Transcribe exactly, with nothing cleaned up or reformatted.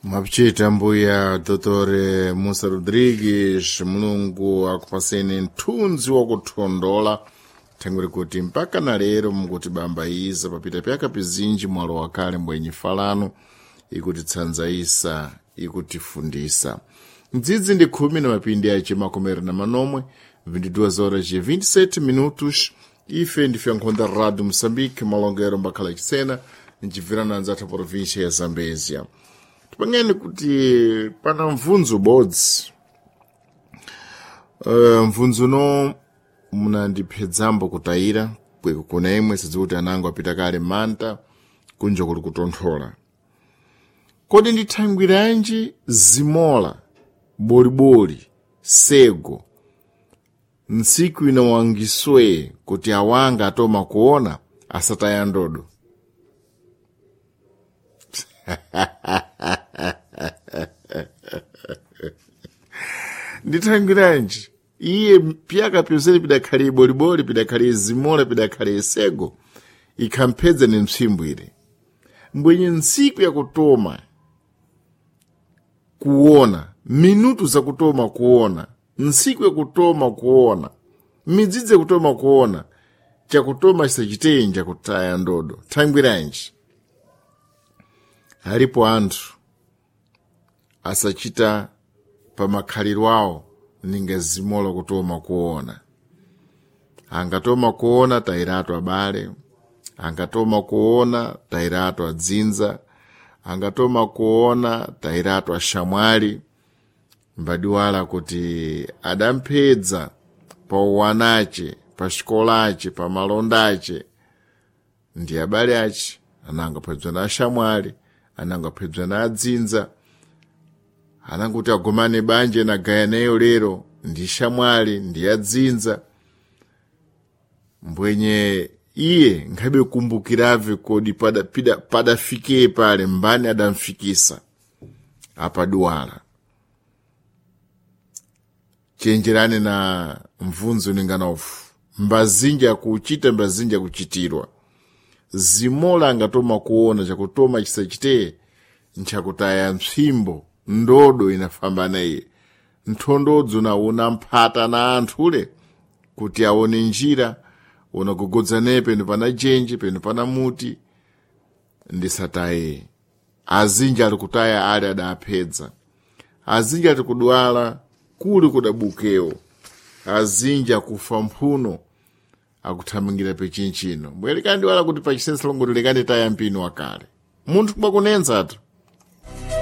Mwapichita mbuya Dr Musa Rodrigues, Mulungu akupaseni mthunzi wakuthondola thangwiri kuti mpaka na lero mukuti bamba iza papita pyaka pizinji mwalo wakale mbwenyi falano ikutitsanzaisa ikutifundisa mdzidzi ndi khumi na mapindi ace makomere na manomwe vinte e duas horas e vinte e sete minutos. Ife ndife nkhonda Radio Moçambique, malongero mbakhala chisena ncibvirana anzathu província ya Zambezia. Tipangeni kuti pana mvunzo ubodzi, uh, mvunzo no munandiphedzambo kutayira kweko kuna imwe sidzikuti anango apita kale manta kunja kuli kutonthola. Kodi ndithangwiranji zimola, boliboli, sego ntsiku ino wangiswe kuti awanga atoma kuona asataya ndodo? Ndithangwiranji iye pyaka pyonsene pidakhale iboliboli, pidakhale zimola, pidakhale isego ikhamphedza ni mtsimbwire mbwenye ntsiku yakutoma kuona, minutu zakutoma kuona, ntsiku yakutoma kuona, midzidzi yakutoma kuona, chakutoma chisachitenja kutaya ndodo. Thangwiranji alipo anthu asachita pa makhaliro awo ninga zimola kutoma kuona. Angatoma kuona tayiratu abale, angatoma kuona tayiratu adzinza, angatoma kuona tayiratu ashamwali, mbadiwala kuti adamphedza pa uwanace, pa xikolace, pa malondace ndi abale ace, anango aphedzwa na ashamwali, anango aphedzwa na adzinza, ananguti agumane banje na gayaneyo lero ndi shamwali ndi adzinza. Mbwenye iye nkhabe kumbukirave kodi padafikire pada, pada pale mbani adamfikisa apaduwala. Chenjerani na mvunzo ninganofu mbazinja akuchita, mbazinja akuchitirwa. Zimola angatoma kuona, chakutoma chisachiteye nchakutaya mtsimbo ndodo inafamba iye nthondodzo nauna mphata na anthule kuti aone njira unagogodza peno pana jenje peno pana muti ndisataye. Azinji ali kutaya ali adaphedza, azinji ali kudwala kuli kudabukewo, azinji akufa mphuno akuthamangira pechinchino. Mbwelekani wala kuti pachisensa longoti lekani taya mpino wakale munthu kumakunenzatu.